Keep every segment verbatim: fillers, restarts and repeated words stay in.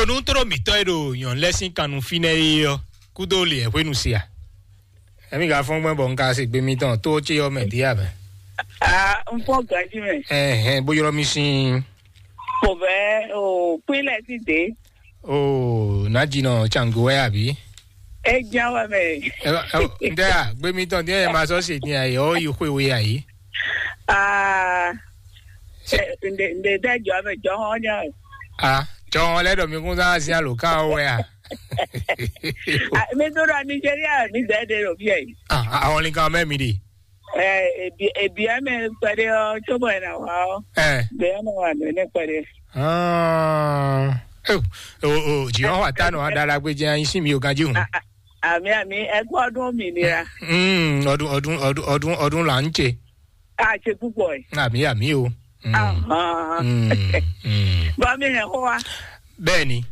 Nú tló mǐtɔn e ɖo nyɔ̌nu lɛ́ɛ sín kannú fínɛ́ é ɔ́, kúdó lě hwenu se a? Emi ka fɔ́n gbɛn bɔ un ka se gbe mitɔn tó ce ɔ́ mɛ dín abɛ? Ah, un fɔ́n ganjí mɛ. Ɛhɛn, bó ylɔ́ mì sín. Kò bɛ o pínlẹ̀ sí dé. O nǎjínɔ Cangó wɛ àbí? É jẹ́ wɛ mɛ. Ntɛ a, gbe mitɔn dín ɛ ma sɔ se dín ayé ɔ yi xwe we ayé. Ah, ǹdè ǹdè dẹ́ jọ mɛ jọ hɔn nya. A jɔ hɔn lɛ ɖɔ mi kún sá sí alo ká wɛ a? Mi tó ɖɔ Nigeria mi dẹ́ de ɖo fíɛ yi. Àwọn nìkan mẹ́ mi ɖe. Ɛ ebi ebi ɛmɛ kpɛɖe ɔ tso bɔ ɛna wa ɔ. Ɛ. Bɛ ɛmɛ wa nɔ ɛnɛ kpɛɖe. Ah, o o o jì ɔn wa ta nɔ adala gbé jẹ anyi sí mi o ganji hun. Àmì àmì ẹkú ọdún òmìnira. Mm, ọdún ọdún ọdún ọdún ọdún là ń ṣe. A ṣe púpọ̀ ẹ̀. Àmì àmì o. Mm. Ahàn. Mm, mm. Bá mi hẹ̀ kó wa. Bẹ́ẹ̀ni.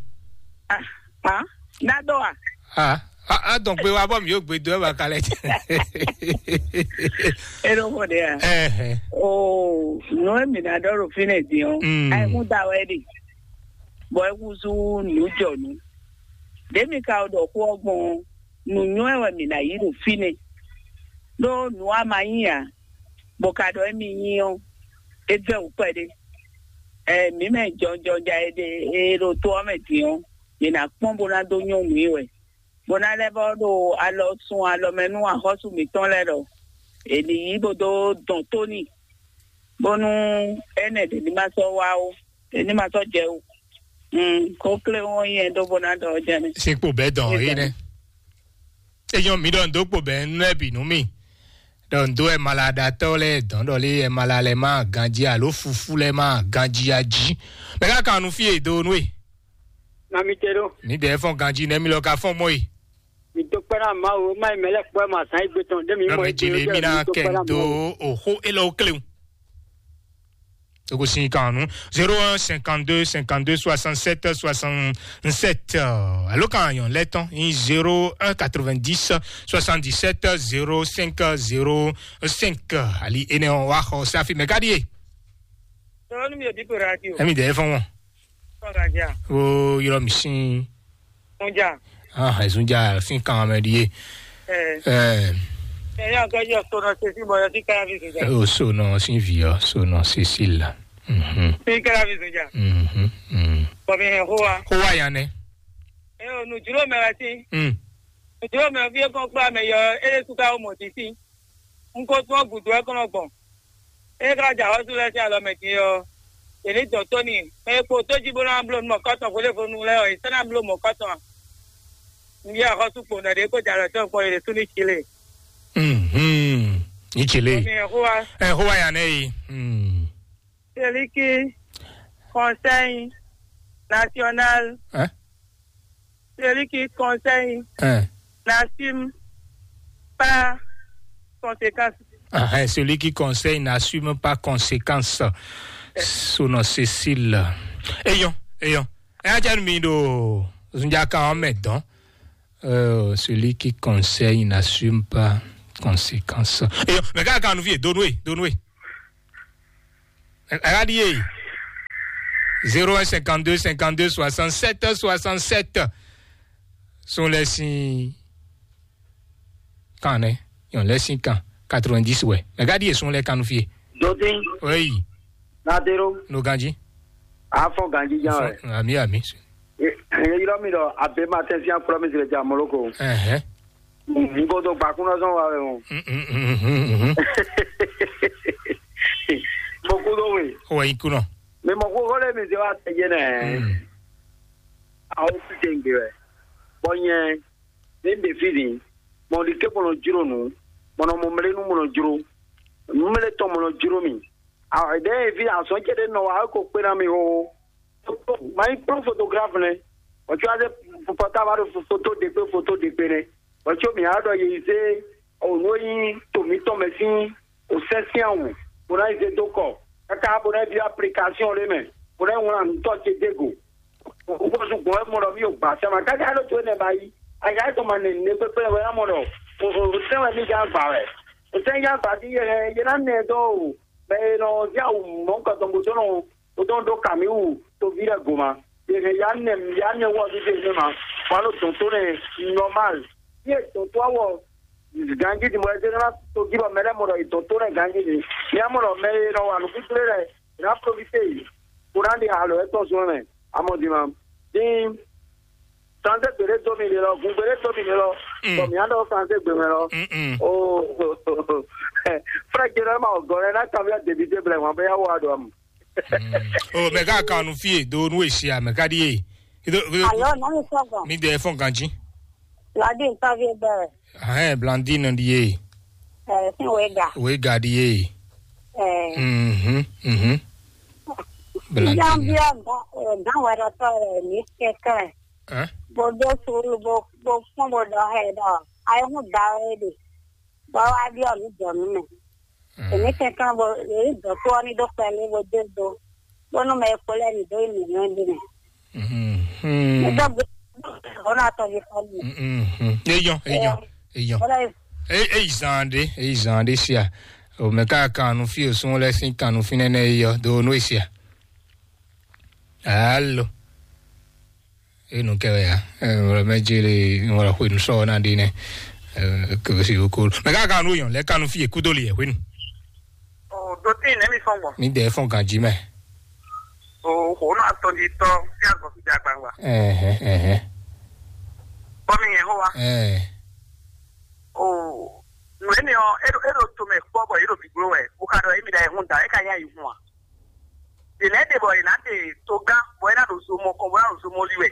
Ah, ah, nádọ́ wa. Ah, a a dɔn pé wa bɔ mi yóò gbé dó ẹ bá kalẹ̀. Eno ko de ya. Ẹhẹ. O nu emi na dɔ ɖo fi ne din o. Mm. Ayi kun da wɛ de. Bɔ eku su nu jɔ nu. Ɖe mi ka ɖɔ xó ɔgbɔn nu nyɔ ɛ wɛ mi na yi ɖo fi ne. Ɖo nu a ma nyi a, bɔ ka ɖɔ emi nyi ɔ, e vɛ wò kpɛɖe. Ɛ mi mɛ jɔnjɔnja e ɖe e ɖo to ɔ mɛ din ɔ, mi na kpɔn bó ná dó nyɔnu yi wɛ. Bó ná lɛ́ vɔ ɖo alɔ sun alɔ mɛ nú axɔ́sú mǐtɔn lɛ́ɛ ɖɔ è nǐ yí bó dó dɔn tó n'i, bónú énɛ́ ɖě ní ma sɔ́ wá ó, ɖě ní ma sɔ́ jɛ ó. Kó klé wɔn nyɛ ɖó bó ná ɖɔ jɛ nɛ. Sín kpo bɛ́ dɔn é nɛ́. É nyɔ́ mi ɖɔ ndo kpo bɛ́ nú ɛ bǐ nú mì. Ɖɔ ndo ɛ malaɖatɔ́ lɛ́ɛ dɔn ɖɔ lé ɛ mala lɛ má ganjí alo fufú lɛ má ganjí a jí. Mɛ ká kan nu fí e do nú e. Na mi te ɖo. Mi ɖe fɔn ganji nɛ mi lɔ ka fɔn mɔ yi. Mi to kpɛ́ na Mawu, ma yi mɛ lɛ kpɔ́ ma zan yi gbe tɔn ɖe mi mɔ Nɔmɛ yi jele mi na kɛ do oxo elɔ klewu. Togo sin kan nu zéro un cinquante-deux cinquante-deux soixante-sept soixante-sept. Alo kan yɔn lɛ tɔn in zéro un quatre-vingt-dix soixante-dix-sept zéro cinq zéro cinq. Ali ene wa xɔ safi mɛ kadi ye. Sɔrɔ ni mi yɛ bi to radio. Emi dɛ fɔn wɔn. Sɔrɔ ka ja. O yɔrɔ mi sin. Sunja. Ah, Sunja, sin kan mɛ di ye. Eh. Eh. Eh, ya ka yo sono se si boyo si ka vi Sunja. O sono sin vi o, sono Cécile. Mhm. Si ka vi Sunja. Mhm. Mhm. Ko mi he hoa. Hoa ya ne. Eh, o nu juro me wa si. Mm. Nu juro me vi ko kpa me yo, e su ka o mo ti si. Un ko tún ɔ́ gǔdo wɛ kɔn nɔ gbɔn. Ée xlá jɛ axɔ́sú lɛ́ɛ sín alɔ mɛ din ɔ́, yě ní dɔn tó n'i. Mɛ e kpo tó jí bó ná bló nú mɔ̌kɔ́tɔn hwelébonu lɛ́ɛ ɔ́, yě sɔ́ ná bló mɔ̌kɔ́tɔn ǎ. Un byɔ́ axɔ́sú kpowun ɖɔ ɖě kó jɛ alɔ tɔn kpɔ́n yě ɖésú ní cí lé. Mhm. Ní cí lé. Bɔ mi hɛn xó wá. Ɛ xó wá ya nɛ yi. Mm. Celui qui conseille national. Hein? Celui qui conseille Hein? n'assume pas conséquence. Ah, hein, celui qui conseille n'assume pas conséquence. Sono Cécile. Eyɔn, eyɔn. Ɛ ajá mi ɖo zunjaka ɔ́ mɛ dɔn. Euh, celui qui conseille n'assume pas conséquence. Eyɔn, mɛ ká kan nu fie, donwe, donwe. Ɛ ɛ ká ɖíe. Zéro un cinquante-deux cinquante-deux soixante-sept soixante-sept. Sun lɛ sin kan nɛ. Yɔn lɛ sin kan quatre-vingt-dix wɛ. Mɛ ká ɖíe sun lɛ kan nu fie. Dodin, Oui. Nadero, No ganji. Afɔ ganji jan wɛ. Ami ami. E yɔrɔ mi dɔ abe ma tɛ fia kplɔ mi sere ja Moloko. Ɛhɛn. N ko to gbakun lɔ sɔn wa wɛ o. Mm, mm, mm, mm, mm. Mo ko do we. O wa yi kunɔ. Mi mɔ ko ko le mi se wa tɛ je nɛ. Mm. Awo fi ke ngbe wɛ. Bɔ nyɛ ne n de fi ni. Mɔ di ke mɔ nɔ jro nu. Mɔ nɔ mɔ mle nu mɔ nɔ jro. Mle tɔn mɔ nɔ jro mi. Awo de fi azɔn ce de nɔ wa ko kpe na mi o. Ma nyí kplɔ́n fotograf nɛ́, bɔ có wá zé pɔtába ɖo foto ɖe kpé foto ɖe kpé nɛ́, bɔ có mǐ wá ɖɔ yě yi zé o nǔ e nyí to mǐtɔn mɛ sín o sɛ́n sín awu, bó ná yi zé dó kɔ, káká bó ná yi byɔ́ aplikasiɔn ɖé mɛ, bó ná yi wlán nǔtɔ́ ce dó go. Wúkɔ́sú gbɔn wɛ mɔ ɖɔ mí o gbǎ sɛ́ ma, káká ɖó to énɛ́ ba yí, ayǎ tɔn ma nɛ nǔɖé kpékpé wɛ ná mɔ ɖɔ o sɛ́n wɛ mí gán gbǎ wɛ. O sɛ́n gán gbǎ dín yě hɛn yě ná nɛ dó o, mɛ e nɔ zé awu mɔ̌hunkɔtɔn bó dó nɔ Wodɔn ɖó Kamiwu toví lɛ́ɛ goma. Yě hɛn ya nɛ ya nɛ wɔ ɖíɖe nɛ ma. Wà ló dɔn tó nɛ normal. Ní è dɔn tó awɔ ganji di mɔ ɛ dé ná tó jí bɔ mɛ lɛ mɔ ɖɔ è dɔn tó nɛ ganji di. Ní a mɔ ɖɔ mɛ e nɔ wa nǔ kúkúlé lɛ è ná profité yi. Kó ná ɖi alo ɛ tɔn zɔn mɛ. Amɔ di ma. Dín santé gbèdé dó mi lé lɔ, gun gbèdé dó mi lé lɔ. Mm. Bɔ mi á ɖɔ santé gbè mɛ lɔ. Mm-mm. O frɛ jɛ lɔ ma o gɔlɛ ná kan mi á débi dé blɛ wọn bɛ yá wɔ adɔ amu. Mm. O mɛ ká kan nu fie do nu esi a mɛ ká di ye. Ido ido Alo, nani sɔgbɔn? Mi de fɔn ganji. Ladi ntavi bɛrɛ. Ahɛn Blandine di ye. Ɛ, sin wega. Wega di ye. Ɛ. Mhm. Mhm. Blandine. Jambi ọgá, ọgá wẹrẹ tọ rẹ ní kẹkẹ. Ɛ? Bó dó sùúrù bó bó fún bó dɔ hẹ dɔ. Ayé hún da wẹ de. Bɔ wá ɖi ɔmí jɔ nú mɛ. Èmi kɛnkan bo èyí dɔ̌tɔ́ ɔ́ ní ɖó kpɛlí bó dó do, bónú mɛ e kpo lɛ́ɛ ní dó yi nǔnywɛ́ ɖé mɛ. Nígbà gbé ọ̀nà àtọ̀yẹ kan nìyẹn. Eyɔn, eyɔn, eyɔn. Bọ́lá yìí. Eyi zan ɖe, eyi zan ɖe sia. O mɛ ká kan nu fí o sún lɛ sín kan nu fínɛ́ nɛ eyɔ do nú esia. Alo. Enu kɛ wɛ ya. Wala mɛ jele wala xwe nu sɔ na de nɛ. Kebe si ko. Mɛ ka ka nu yɔn lɛ kanu fi ekudo li yɛ hwenu. O do ti ne mi fɔn gbɔn. Mi de fɔn ganji mɛ. O xo na tɔn di tɔ fi agɔ fi ja gbangba. Ɛhɛ ɛhɛ. Bɔ mi yɛn ho wa. Ɛɛ. O nu eni ɔ eɖo eɖo to mɛ kpɔ bɔ yeɖo gbigbló wɛ o ka ɖɔ emi da ehun da e ka nya yi hun a. Ɖe lɛ́ɛ ɖe bɔ è nǎ ɖe togán bɔ é ná ɖo zo mɔ kɔn bó ná ɖo zo mɔ li wɛ.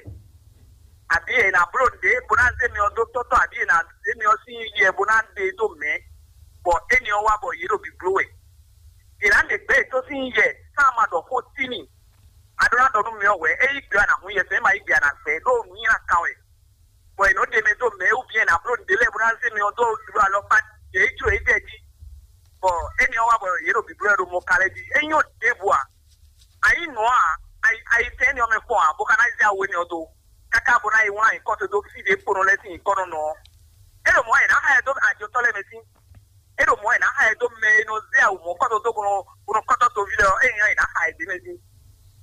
Abǐ è nǎ bló nǔɖé bó ná zé myɔ dó tɔ́tɔ́ abǐ è nǎ zé myɔ sín yɛ bó ná ɖe dó mɛ̌, bɔ éni ɔ́ wá bɔ yě ɖo bǐbló wɛ. È nǎ ɖe gbɛ̌ yětɔn sín yɛ sán ma ɖɔ xó tímì. A ɖó ná ɖɔ nú myɔ hwɛ̌, é yí gbe a nǎ hun yɛ sɛn, é ma yí gbe a nǎ gbɛ ɖó nǔnywɛ́ kan wɛ. Bɔ è nɔ ɖe mɛ dó mɛ wú bǐ è nǎ bló nǔɖé lɛ́ɛ bó ná zé myɔ dó ɖu alɔkpa ɖě jló yě jɛ jí. Bɔ éni ɔ́ wá bɔ yě ɖo bǐblɔ́ ɛ ɖo mɔ ka lɛ́ɛ jí. É nyɔ́ ɖěbǔ ǎ. A yí nǔ ǎ, a yi a yi tɛ́ éni ɔ́ mɛ kpɔ́n ǎ, bó ka ná zé awu énɛ́ ɔ́ dó, káká bó ná yi wlán nyǐkɔ towe dó fí ɖě kpo nɔ lɛ́ɛ sín nyǐkɔ nɔ nɔ ɔ́. É ɖo mɔ̌ ǎ, è nǎ xa ɛ dó ajotɔ́ lɛ́ɛ mɛ sín. É ɖo mɔ̌ ǎ, è nǎ xa ɛ dó mɛ e nɔ zé awu mɔ̌kɔ́ towe dó bó nɔ bó nɔ kɔ́tɔ́ toví lɛ́ɛ ɔ́, é nyí ɔ́, è nǎ xa ɛ d'é mɛ sín.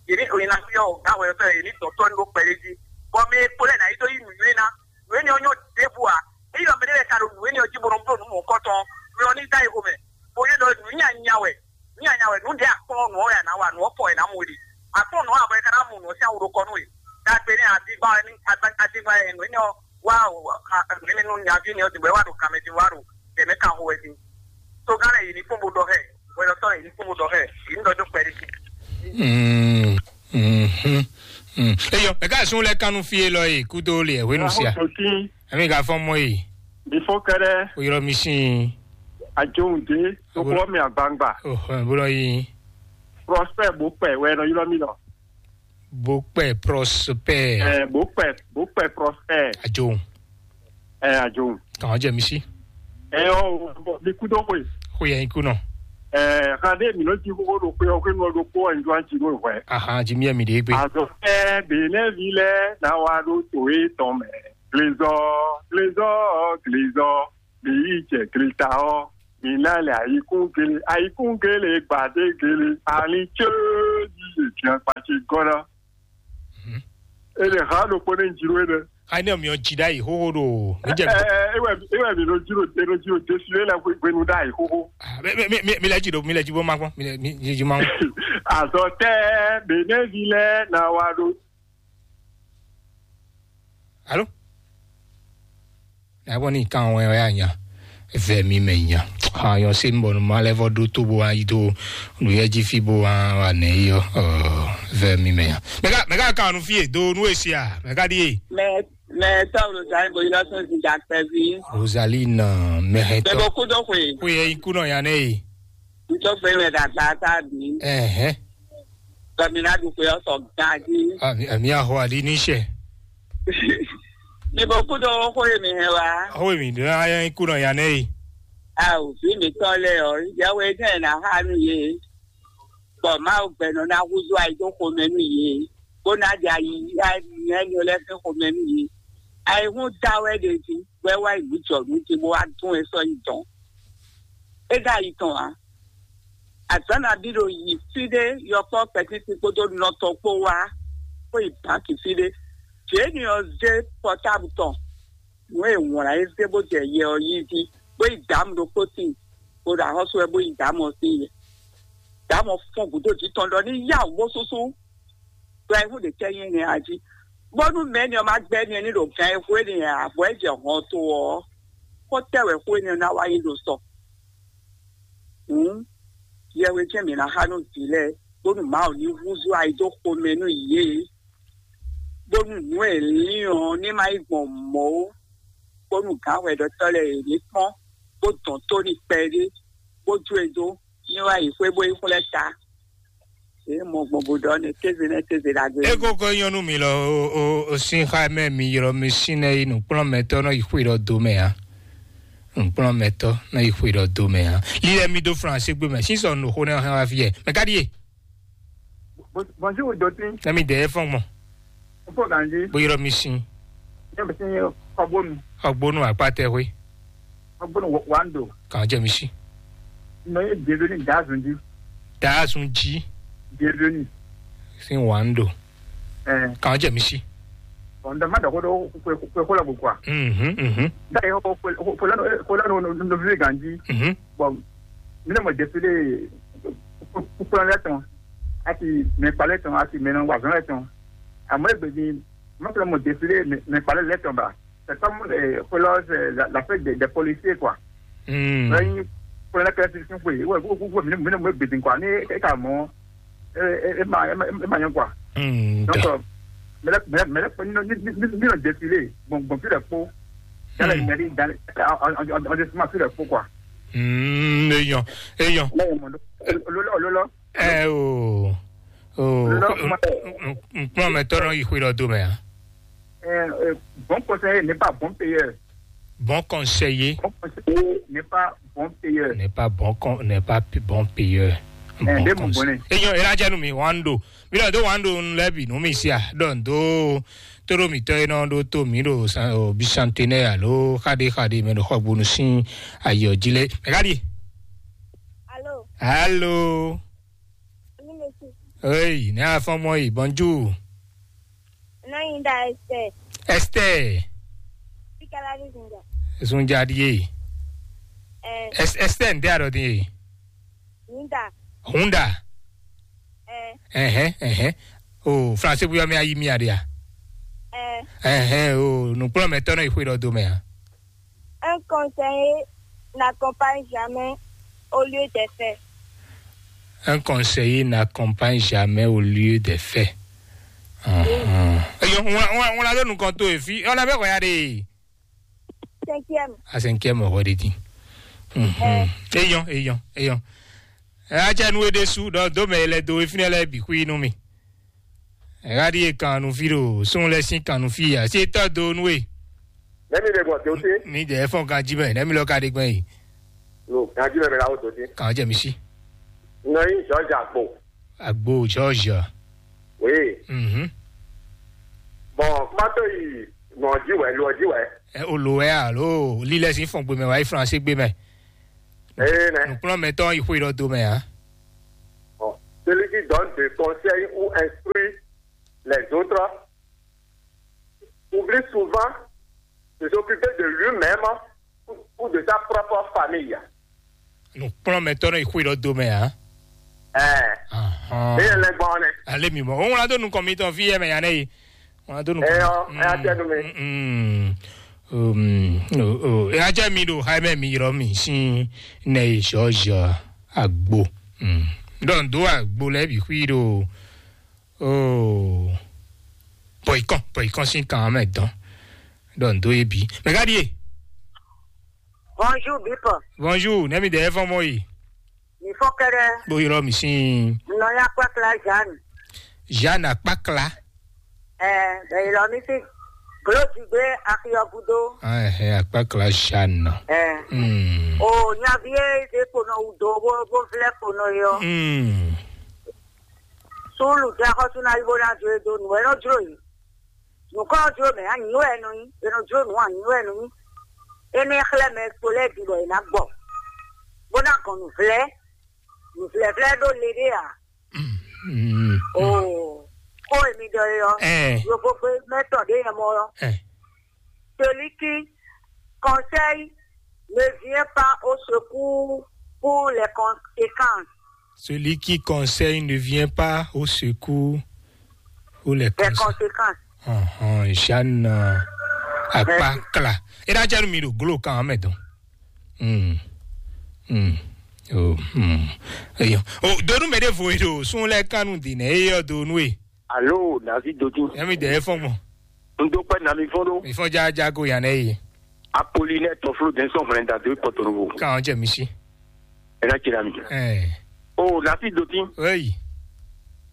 Yě ní oyin ná fyɔ́ gǎn hwɛɖɔtɔ́ yě ní dɔn tɔ́ ní ɖó kpɛɖé jí, bɔ mɛ e kpo lɛ́ɛ ná yi dó yí nǔnywɛ́ ná. Nǔ énɛ́ ɔ́ nyɔ́ ɖěbǔ ǎ. Ényí ɔ́ mɛ ɖé lɛ́ɛ ka ɖo nǔ énɛ́ ɔ́ jí bó nɔ bló nǔ mɔ̌kɔ́tɔn ɔ́, mɛ ɔ́ ní dó ayi xomɛ, bó yí ɖɔ nǔ nyanya wɛ, nǔ nyanya wɛ, nǔ ɖě a kplɔ́n nǔ ɔ́ wɛ a nǎ wa, nǔ ɔ́ fɔ wɛ nǎ mɔ we ɖe. A kplɔ́n nǔ ɔ́ a bɔ é ka ná mu nǔ ɔ́ sín awu ɖokɔ nú we. Ɖagbe nɛ́ adígbá wɛ ní adígbá wɛ nǔ énɛ́ ɔ́ wá nǔ énɛ́ nú nyaví énɛ́ ɔ́ din bɔ é wá ɖo kanmɛ din wá ɖo tɛ̌mɛ kan xo wɛ din. Togán lɛ́ɛ yě ní kpɔ́n bó ɖɔ xɛ, hwɛɖɔtɔ́ lɛ́ɛ yě ní kpɔ́n bó ɖɔ xɛ, yě ní ɖɔ dó kpɛɖé. Mm, mhm, mm. Eyɔ, mɛ ka sun lɛ kanu fi elɔ yi kudo le hwenu sia. Ahototin, Ami ka fɔn mɔ yi. Bifɔ kɛɖɛ, O yɔrɔ mi sin. Ajohun de, Abo- tokɔ mi agbangba. Oh, bolo yi. Prospect bó pɛ, wɛ nɔ yɔrɔ mi nɔ. Bó pɛ Prospect. Ɛ, bó pɛ, bó pɛ Prospect. Ajohun. Ɛ, Ajohun. Kàn jẹ mi sí. Ɛ, ɔ, bɔ mi kú dó xwe. Xwe yẹn kú nɔ. Ɛ, xan ɖé mi nɔ jí xóxó ɖo xwe ɔ xwe nɔ ɖo kó ɔ ń jó àjí nù hwɛ. Aha, jí mi ɛ mi ɖe gbé. Azɔ fɛ Benɛvi lɛ na wa ɖo to e tɔn mɛ. Glezɔ, glezɔ, glezɔ. Mi yi jɛ gleta ɔ. Mi na lɛ ayikún gele, ayikún gele, gbadé gele. Ali tse yi ye dian kpatsi gɔna. Mhm. E le ha ɖokpó ne jiro e ne. Ayi ne mi ɔ dzi ɖa yi xoxo ɖo. Mi jɛ. Ɛ, ɛ, ewɛ, ewɛ mi nɔ jiro, e nɔ jiro desi le la gbenu ɖa yi xoxo. Ah, mi, mi, mi, mi lɛ dzi ɖo, mi lɛ dzi bɔ ma kpɔn, mi lɛ, mi, mi dzi ma kpɔn. Azɔ tɛ, Benɛvi lɛ na wa ɖo. Alo? Nabɔ ni kan wɛ wɛ anya. Vɛ mi mɛ nya. Ha yɔ se mbɔ ma lɛ vɔ ɖo to bo ayi do. Nu yɛ ji fi bo wa wa nɛ yɔ. Vɛ mi mɛ nya. Mɛ ka mɛ ka kan nu fie do nu esia. Mɛ ka di ye. Mɛ mɛ tɔwlo zan bo yɔ sɔn zi dakpɛvi. Rosaline mɛ hɛ tɔ. Mɛ bo kudo xwe. Ko yɛ iku nɔ ya nɛ ye. Ntɔ fɛ mɛ dagba ta bi. Ɛhɛ. Kami na ɖu xwe ɔ́ sɔ ganjí. Ami ami axɔ aɖi ní sɛ. Mi bo kú ɖó xó e mi hɛn wá. Xó e mi ɖó ayɔ kú nɔ ya nɛ yi. Awo, vǐ mǐtɔn lɛ́ɛ ɔ́, yɛwe jɛ́n è nǎ xa nú yě, bɔ Mawu gbɛ́ nɔ ná húzú ayi dó xomɛ nú yě, bó ná ɖe ayi ayi nǔnywɛ́ lɛ́ɛ sín xomɛ nú yě. Ayihún da wɛ ɖe jí, bɔ é wá yi nǔ jɔ nǔ jí, bó wá dún e sɔ́ yi dɔn. É ɖo ayi tɔn ǎ. Azǎn nabí ɖo yi fí ɖé, yɔkpɔ́ kpɛtíti kpódó nɔ tɔn kpó wá. bó yi bǎnki fí ɖé. Jěni ɔ́ zé pɔtábu tɔn nǔ e wǎn lá é zé bó jɛ yɛ ɔ́ yí jí, bó yi dǎmu ɖokpó tíin, bó ɖo axɔ́sú wɛ bó yi dǎmu ɔ́ sín yɛ. Dǎmu ɔ́ fɔ́n gǔdo jǐ tɔn ɖɔ ní yá wǔ bó súsú. Ɖɔ ayihún ɖě tɛ́ nyí énɛ́ a jí? Bónú mɛ̌ni ɔ́ ma gbɛ́ ni ní ɖo gan e hwé ni ǎ, bɔ é jɛ hɔn to ɔ́, xó tɛ́ wɛ xó énɛ́ ná wá nyí ɖo sɔ? Hǔn, yɛhwe jɛ́n mǐ ná xa nú vǐ lɛ́ɛ, bónú Mawu ní húzú ayi dó xomɛ nú yě, bónú nǔ e lín ɔ́ ní ma nyí gbɔn mɔ̌ ó, bónú gǎnhwɛɖɔtɔ́ lɛ́ɛ yě ní kpɔ́n, bó dɔn tó n'i kpɛɖé, bó jó e dó, ní wá yi xwé bó yi xwlɛ́ ta. Yě mɔ gbɔn bó ɖɔ nɛ kéze nɛ́ kéze ɖagbe. Ego ko nyɔnu mi lɔ o o o sin xa mɛ mi ylɔ mi sin nɛ yi nukplɔn mɛtɔ nɔ yi xwe ɖɔ do mɛ a. Nukplɔn mɛtɔ nɔ yi xwe ɖɔ do mɛ a. Li lɛ mi do flan se gbe mɛ sinsɔ no xo nɛ hɛn wa fi yɛ mɛ ka ɖi ye. Bonjour Dotin. Nɛ mi dɛ fɔn gbɔn. Fo ganji. Bo ylɔ mi sin. Ne mi sin kɔbonu. Ɔgbonu akpatɛ xwe. Kɔbonu wando. Kan jɛ mi si. Nɔ ye bienvenue dazun ji. Dazun ji. Bienvenue. Sin wando. Eh. Kan jɛ mi si. Bon, ndo ma dako do kwe kwe kwe la kwa. Mhm mhm. Da yo ko ko la no no vi ganji. Mhm. Bon, mi ne mo défilé kúkúrú lɛ tɔn, àti mɛ kpalẹ tɔn, àti mɛ nɔ wazɔn lɛ tɔn. Àmọ́ ègbè ni, mo fẹ́ mo défilé mɛ kpalẹ lɛ tɔn ba. C'est comme euh, pour la, la, la fête des, des policiers, quoi. Hmm. Là, il faut la classification, oui. Ouais, vous, vous, vous, vous, vous, vous, quoi. Ni, et comment, et, et, et, ma, et, ma, et, ma, quoi. Hmm, Donc, da. Euh, mais là, mais là, mais là, nous, nous, nous, nous, nous, défilé. Bon, bon, puis la peau. Dans la Hmm. mairie, dans, en, en, en, en, en, sur la peau, quoi. Hmm, eyɔn, eyɔn. Là, il y a mon, Lola, Lola. Ɛ o o Lɔ kuma. Nkplɔn mɛ tɔn nɔ yi xwe lɔ do mɛ a. Euh, euh, bon conseiller n'est pas bon payeur. Bon conseiller Bon conseiller n'est pas bon payeur. N'est pas bon con n'est pas p- bon payeur. Eh, Bon de mon conseiller. Bonnet. Eyɔn, ela jɛ nu mi wan do. Mi lɔ do wan do nu lɛ bi nu mi sia dɔn do. Toro mi tɔ enɔ do to mi do bisantenɛ alo xaɖe xaɖe mɛ do xɔ gbonu sin ayɔ ji lɛ. Mɛ ka di. Allô, Allô. Oui, monsieur. Hey, ne afɔ mɔ yi, bonjour. Nainda Esther. Esther. Sikalabi Zinga. Zunja die. Eh, Es- Esther nde aro die. Ninda. Hunda. Eh, Ehe, ehe. O français bu yɔ mi ayi mi adia. Eh, Ehe, o nukplɔ mɛ tɔnɔ yi xwe dɔ do mɛ a. Un conseiller n'accompagne jamais au lieu des faits. Un conseiller n'accompagne jamais au lieu des faits. Eyɔn, ŋun la ɖo nukɔn to efi, ɔn abɛ xɔya ɖe. Cinquième. A cinquième xɔ ɖe din. Eyɔn, eyɔn, eyɔn. Ɛ atsɛ nu e ɖe su ɖɔ do mɛ e lɛ do efi nɛ lɛ bi xwi nú mi. Ɛ ɣa ɖi e kan nu fi ɖo sun lɛ sin kan nu fi a si tɔ do nu e. Nɛmi ɖe gbɔn dote. Mi dɛ fɔn kan ji mɛ nɛmi lɔ ka ɖe gbɛn yi. No, kan ji mɛ mɛ la wo dote. Kan jɛ mi si. Nɔ yi George Agbo. Agbo George. Oui. Mhm. Bon, kuma to yi nɔ ji wɛ, lo ji wɛ. Ɛ o lo wɛ alo lilɛ sin fɔn gbe mɛ wa yi France gbe mɛ. Ee nɛ. Nukplɔn mɛ tɔn yi xwe lɔ do mɛ a. Bon, celui qui donne des conseils ou instruit les autres oublie souvent de s'occuper de lui-même ou, ou de sa propre famille. Nukplɔn mɛ tɔn yi xwe lɔ do mɛ a. Ɛɛ. Ahɔn. Ne yɛ lɛ gbɔn nɛ. Ale mi mɔ. O ŋlɔ do nukɔn mi tɔn fi yɛ mɛ ya ne yi. Ŋlɔ do nukɔn. Eyɔ, eya tɛ nu mi. Mm. Um, o, o, eya tɛ mi do ha mɛ mi yɔrɔ mi sin ne yi George Agbo. Mm. Donc do Agbo lɛ bi xwi do. Oh. Pɔikɔn, pɔikɔn sin kan mɛ dɔn. Donc do ye bi. Mais regarde. Bonjour Bipo. Bonjour, ne mi dɛ fɔn mɔ yi. Mi fɔ kɛrɛ. Bo yɔrɔ mi sin. Nɔ ya kpakla Jeanne. Jeanne akpakla. Ɛɛ, bɛ yɔrɔ mi si. Glo digbe akiyɔ gudo. Ah, eh, akpakla Jeanne. Ɛɛ. Hmm. O nyavi ye de kponɔ wu do bo bo vlɛ kponɔ yɔ. Hmm. Sulu ja xɔsu na yi bo na jo e do nu e nɔ jlo yi. Nǔkɔ ɔ́ jló mɛ, anyǔ wɛ è nɔ nyí; è nɔ jló nǔ, anyǔ wɛ è nɔ nyí. Énɛ́ xlɛ́ mɛ kpo lɛ́ɛ bǐ bɔ è nǎ gbɔ, bó ná gɔn nǔvlɛ́; nǔvlɛ́vlɛ́ ɖó le ɖé ǎ. Mm. Oo. Kó èmi ɖɔ é ɔ́, Ɛɛ. Yovógbé mɛtɔn ɖé yɛ mɔ ɔ́. Ɛɛ. Celui qui conseille ne vient pas au secours pour les conséquences. Celui qui conseille ne vient pas au secours pour les Les conséquences. Conséquences. Ɔhɔn, Jeanne, euh, Akpakla. E ɖa jɛ nu mi ɖo glo kan mɛ dɔn. Hmm. Hmm. Oh, hmm. Eyo. Oh, donu mɛ ɖe vo ɖo sun lɛ kanu di nɛ eyɔ donu e. Alo, David Dodu. Yɛmi dɛ efɔn gbɔn. N dó pẹ́ nami fɔ́n ɖó. Efɔn jajago yan nɛ ye. Apolinɛ tɔflo dɛnsɔn hwlɛn da dó kɔtɔnɔvo. Kan jɛ misi. Ena tira mi. Eh. O, David Dodu. Hey.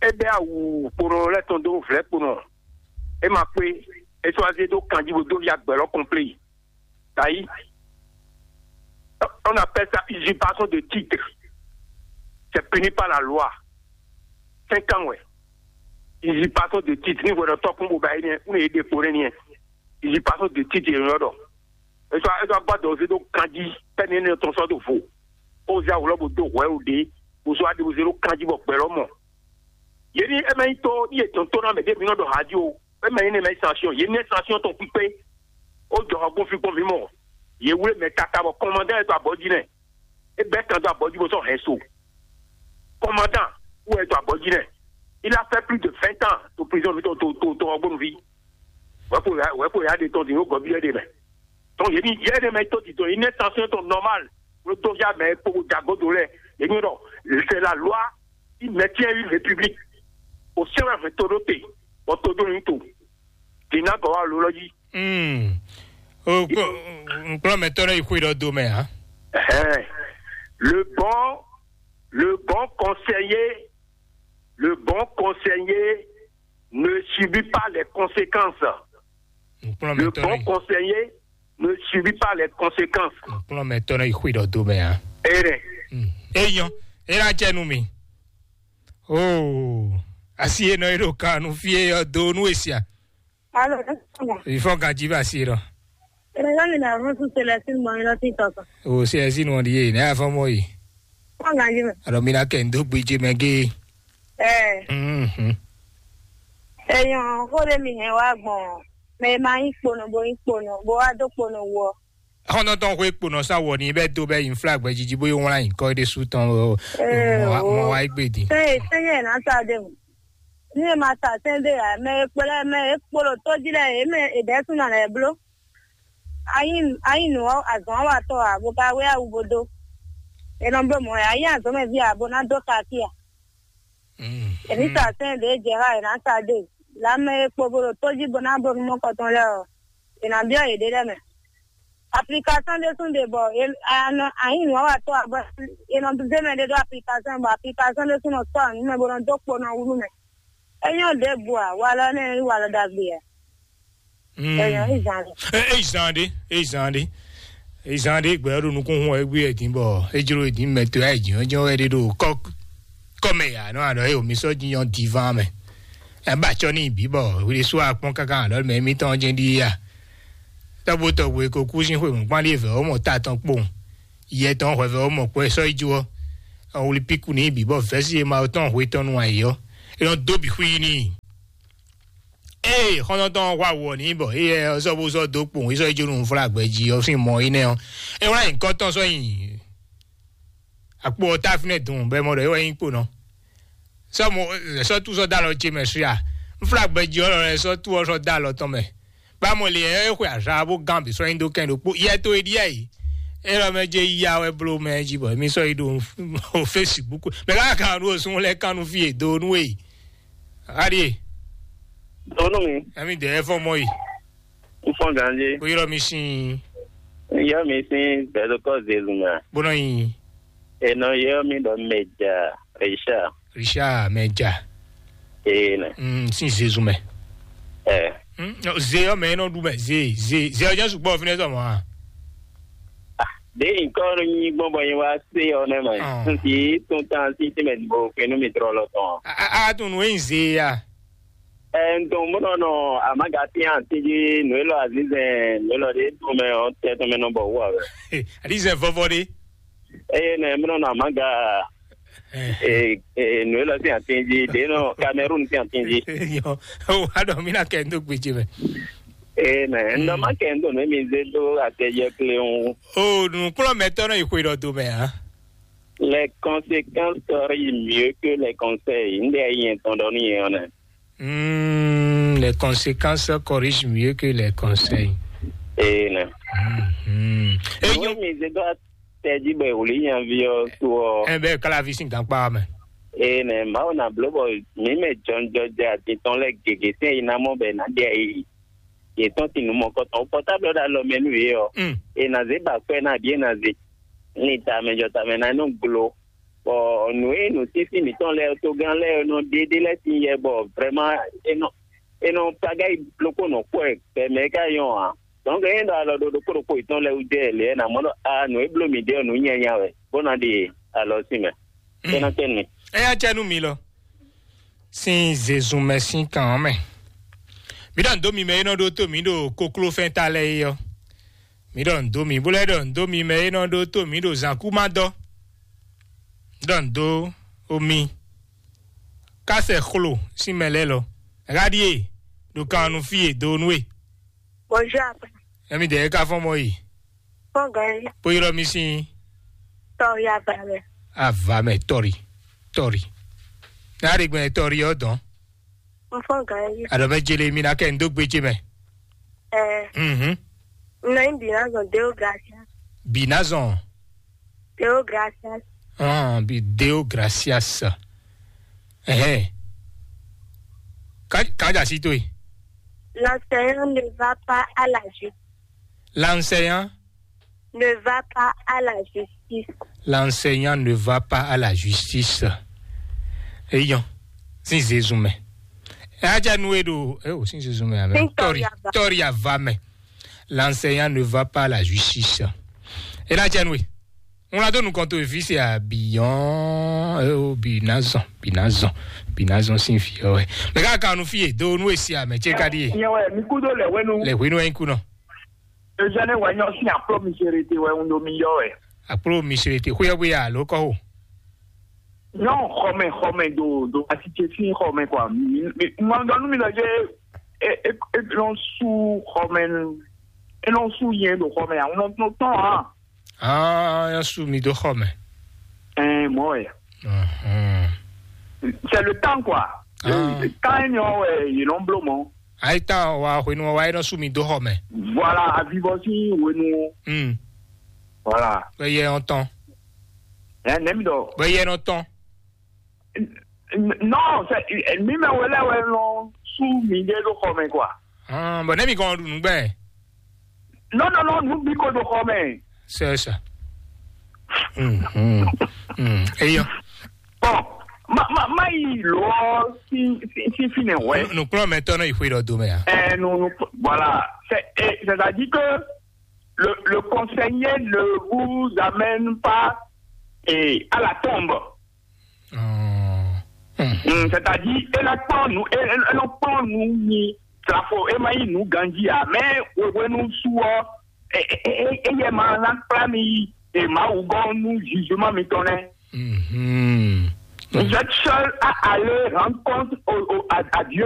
E bɛ awu kponɔ lɛ tɔn dó vlɛ kponɔ. E ma kpé. E sɔ azé dó kanji bo dó ya gbɛlɔ kɔnplé. Tayi. On appelle ça usurpation de titre. C'est puni par la loi. Cinq ans, ouais. Usurpation de titre. Ni wɛrɛ tɔ kún bo ba yi ni. Un est décoré ni. Usurpation de titre, il y a. E sɔ, e sɔ agba dɔ ozé dó kanji. Pɛni ne tɔn sɔ do vo. O zé awulɔ bo dó hwɛ o ɖe. O sɔ adi ozé dó kanji bɔ gbɛlɔ mɔ. Yě ní ɛ má nyí tó ní yě tɔn tó ná mɛ ɖé mi nɔ ɖɔ há jí o. Ɛ má nyí ní ɛ má nyí sanction. Yě ní ɛ sanction tɔn kpíkpé. Ó jɔ hɔ gbɔn fi gbɔn mi mɔ. Yě wlé mɛ tata bɔ kɔmandán yɛ to abɔ jí nɛ. É bɛ́ kan dó abɔ jí bó sɔ́ hɛn so. Kɔmandán wɛ to abɔ jí nɛ. Il a fait plus de vingt ans to prison mi to to to to ɔgbɔnu vi. Wɛ ko ya wɛ ko ya de tɔn di yóò gɔbi yɛ de mɛ. Donc yě ní yɛ de mɛ tó ti tɔn yě ní ɛ sanction tɔn normal. Ló tó ya mɛ kpó jago do lɛ. Yě ní ɖɔ c'est la loi qui maintient une république. O sɛbɛn fɛ to ɖó te bɔ to ɖó ní to. Dina gɔwa ló lɔ jí. Hmm. O kplɔ mɛ tɔrɔ yi xwe dɔ do mɛ ha. Ɛhɛn. Le bon, le bon conseiller, le bon conseiller ne subit pas les conséquences. Kplɔ Le mɛ bon tɔrɔ yi. Conseiller ne subit pas les conséquences. Kplɔ mɛ tɔrɔ yi xwe dɔ do mɛ ha. Erɛ. Hmm. Eyɔn. Era jɛ nu mi. Oh. Asi enɔ eɖo kanu fie yɔ do nu esia. Alo, ne sɔgɔ. Ifɔ ganji ba asi enɔ. Ene yɔ mi na ɔrɔn su Celestine mɔ mi lɔ ti tɔtɔ. O se esi nu ɔdi ye ne afɔ mɔ yi. Kɔ ganji mɛ. Alɔ mi na kɛ ndo gbedze mɛ ge. Ɛɛ, Mhm. Eyɔn, ko ɖe mi hɛn wá gbɔn. Mɛ ma yí kponɔ bo yí kponɔ bo wá dó kponɔ wɔ. Xɔnɔtɔn xwe kponɔ sa wɔ ni bɛ do bɛ yin flag bɛ jiji bo yi wlan yin kɔ de su tɔn o. Ɛɛ, Mɔ wa- o. Mɔ wa yi gbe di. Sɛn ye sɛn ye na sa de mu. Ni ye ma sa sɛn de ya mɛ ye kplɛ mɛ ye kpolo tó jí lɛ ye mɛ ye ɖɛ sun na lɛ blo. Ayi ayi nu azɔn wa tɔ a bo ka wé awu bo do. Enɔ blo mɔ ya yi azɔn mɛ vi a bo na do kaki a. Mm. Èmi sa sɛn de jɛ ha ena sa de. La mɛ ye kpo bo ɖo tó jí bo na bo nu mɔ kɔtɔn lɛ o. Ena biɔ ye ɖe lɛ mɛ. Application ɖé sún ɖe bɔ anɔ ayi nu wa tɔ abɔ enɔ zé mɛ ɖe ɖo application bɔ application ɖé sún nɔ sɔ anu mɛ bo nɔ dó kpo nɔ wú mɛ. Enyɔ ɖe bu a walɔ ne yi walɔ ɖagbe a. Enyɔ izan ɖe. Eyi zan ɖe, eyi zan ɖe, eyi zan ɖe gbɛ ɖo nukún hun ɛgbé ɛdín bɔ ejlo ɛdín mɛ to ayi jìn jɔn wɛ ɖe ɖo kɔ kɔmɛ ya nɔ aɖɔ eyo mi sɔ jiyɔn divan mɛ. Ɛba tsɔ ní bǐ bɔ wuli sú akpɔn káká aɖɔ mɛ mi tɔn jɛ ɖi ya. Tɔgbo tɔgbo e ko kú sín xwe mɔ̌kpán ɖíe vɛ̌ ɔ́ mɔ ta tɔn kpowun. Yɛ tɔn hwɛ vɛ̌ ɔ́ mɔ kpɔ́ ɛ sɔ́ yi jó ɔ́. Ɔn wuli píkú ní bǐ bɔ vɛ̌si e ma tɔn hwe tɔn nu ayǐ ɔ́. É nɔ dó bǐ xwí n'i. Ée xɔ́ntɔn tɔn ɔ́ hwa wɔ n'i bɔ éyɛ ɔ́ sɔ́ bó sɔ́ dó kpowun é sɔ́ yi jó nú nǔflágbɛ jí ɔ́ sín mɔ énɛ́ ɔ́. É wlá nyǐkɔ tɔn sɔ́ nyi akpo ɔ́ tá fínɛ́ dun bɔ é mɔ ɖɔ é wɛ nyí kponɔ. Sɔ́ mo sɔ́ tú sɔ́ dó alɔ ce mɛ suya. Nflágbɛjí ɔ́ lɔ lɛ́ sɔ́ tú ɔ́ sɔ́ dó alɔ tɔn mɛ. Bá mo lě ɛ é xwe azǎ bó gán bǐ sɔ́ nyi dó kɛn ɖokpó yɛ tó é ɖíe yǐ. É lɔ mɛ jɛ ya wɛ bló mɛ jí bɔ émí sɔ́ yi ɖo Facebook. Mɛ ká kan ɖo sun lɛ kan nu fí e do nú e. Aɖie. Donu mi, Ɛmi dɛ ɛ fɔ mɔ yi. n fɔn ganje. Ko yɔrɔ mi sin. Yɔ mi sin bɛdokɔ zelu mɛ. Bónɔ yi. Enɔ yɔ mi dɔ mɛdza Richard. Richard mɛdza. Ee nɛ. Mm, sin Zezu mɛ. Ɛ. Mm, no, ze yɔ mɛ nɔ ɖu mɛ ze ze ze ɔjɔ sugbɔ fi ne sɔ mɔ ha. De nkɔ nɔ nyi gbɔn bɔ nyi wa se yɔ nɛ mɛ. Ah. Nti tun tan si ti mɛ bo kenu mi trɔ lɔ tɔn. A a tun nu yin ze ya. Ɛ ntɔn mo nɔ nɔ amaga ti an ti ji nu elɔ azizɛn nu elɔ de tun mɛ ɔ tɛ tun mɛ nɔ bɔ wu awɛ. Adi zɛ vɔvɔ de. Eye nɛ mo nɔ nɔ amaga Eh. Eh, eh, nǔ élɔ́ sín atín jí, ɖě nɔ Cameroun sín atín jí. Yɔ, o wá ɖɔ mí ná kɛ dó gbèjì mɛ. Ee, mɛ, n dɔ má kɛ n dó nú mi zé dó atɛjɛ kléwún. O nǔkplɔ́nmɛtɔ́ nɔ yi xwe ɖɔ do mɛ ǎ. Les conséquences corrigent mieux que les conseils. N ɖe ayi yɛn tɔn ɖɔ nú yɛn ɔ́ nɛ. Hmm, les conséquences corrigent mieux que les conseils. Ee, nɛ. Hmm. Eyɔn mi zé dó atɛjí bɔ ìwòlí nyaví ɔ sú ɔ. Ɛ bɛ kalavi sín gankpá mɛ. Ee, nɛ, Mawu na bló bɔ mǐ mɛ jɔnjɔjɛ atitɔn lɛ gěgé tɛn yi ná mɔ bɛ ná ɖe ayi yětɔn sín nǔ mɔkɔtɔn. Pɔtáblɔ ɖo alɔ mɛ nú yě ɔ, Mm. È nǎ zé ba kwɛ́ ná bǐ è nǎ zé. Ní tamɛ jɔ tamɛ ná nɔ glo. Bɔ nǔ e nǔsísí mǐtɔn lɛ́ɛ togán lɛ́ɛ nɔ ɖe ɖé lɛ́ɛ sín yɛ bɔ vrɛ́má é nɔ é nɔ tagáyi blokó nɔ kpɔ́ ɛ bɛmɛ é ká nyɔ́ ǎ. Dɔnku é ɖɔ alɔ ɖo ɖokpó ɖokpó yětɔn lɛ́ɛ wú jɛ lě ɛ nǎ mɔ ɖɔ a nǔ e bló mǐ ɖe ɔ́ nǔ nyanya wɛ bó ná ɖe alɔ sín mɛ. É ná tɛ́ nú mi. Ɛ yá cɛ nú mi lɔ. Sín zezun mɛ sín kan ɔ́ mɛ. Mǐ ɖɔ nǔ dó mi mɛ e nɔ ɖó tó mǐ ɖo koklófɛ́n ta lɛ́ɛ é ɔ́. Mǐ ɖɔ nǔ dó mi, bó lɛ́ ɖɔ nǔ dó mi mɛ e nɔ ɖó tó mǐ ɖo zǎnkúmadɔ. Mǐ ɖɔ nǔ dó omi. Kásɛ xlo sín mɛ lɛ́ɛ lɔ. Ɣá ɖíe ɖo kan ɔ́ nú fí e dó nú we. Bonjour, apa. Ɛmi dɛ ka fɔn mɔ yi. Fɔn gɔn yi. Kpó ylɔ́ mi sín. Tɔri ava mɛ. Ava mɛ tɔri. Tɔri. N'a ɖe gbɛn tɔri ɔ́ dɔn. N fɔn gɔn yi. Aɖɔ mɛ jele mi na kɛ n dó gbé ce mɛ. Ɛ. Mhm. N nɔ nyi binazɔn Deo Gracias. Binazɔn. Deo Gracias. Ah, bi Deo Gracias. Ɛhɛn. Ka ka ja si to yi. L'enseignant ne va pas à la justice. L'enseignant ne va pas à la justice. L'enseignant ne va pas à la justice. Eyɔn, sin Jésus mɛ. Ɛ aja nu e ɖo, ɛ o sin Jésus mɛ amɛ. Tɔri, tɔri ava mɛ. L'enseignant ne va pas à la justice. E la jɛ nu e. Ŋlɔ do nukɔn to evi se abiyɔn, ɛ o binazɔn, binazɔn, binazɔn sin fi ɔ. Mɛ ka kanu fi e do nu e si amɛ ce ka di e. Nyɛ wɛ mi kudo lɛ wenu. Lɛ wenu ɛ kunɔ. Eugène wɛ nyɔ sín akplɔ miserete wɛ un ɖo mi yɔ wɛ. Akplɔ miserete xóyɔ bóyá alo kɔ o. Nyɔ xɔmɛ xɔmɛ do do asitse sín xɔmɛ kɔ mi mi ŋɔ dɔ nu mi lɔ dze e e e nɔ su xɔmɛ e nɔ su yɛn do xɔmɛ ya un nɔ tɔn hàn. Ah, ya su mi do xɔmɛ. Ɛn mɔ wɛ. C'est le temps quoi. Kan eni ɔ wɛ yi nɔ blo mɔ. Ayi tan wa hwenu wa yi nɔ su mi do xɔ mɛ. Voilà, avivɔ si hwenu. Hmm. Voilà. Bɛ yɛ ɔn tɔn. Ɛ nɛ mi dɔ. Bɛ yɛ nɔ tɔn. Non, c'est mi mɛ wele wɛ nɔ su mi de do xɔ mɛ quoi. Hɔn bɔn ne mi kɔn ɖu nugbɛ. Non non non, nu bi ko do xɔ mɛ. C'est ça. Hmm. Hmm. Hmm. Eyɔ. Bon, ma ma ma yi lɔ si si si fi nɛ wɛ. Nukplɔn mɛ tɔn nɔ yi xwe dɔ do mɛ ya. Ɛ nu nu voilà, c'est eh, c'est-à-dire que le le conseiller ne vous amène pas eh, à la tombe. Hmm. Hmm, c'est-à-dire e la kpɔn nu e e nɔ kpɔn nu mi tlafo e ma yi nu ganji a mɛ wewenu su ɔ e e e e yɛ ma na kpla mi yi e ma wu gɔn nu jugement mi tɔn nɛ. Mhm. Vous êtes seul à aller rendre compte au, au, à, à Dieu.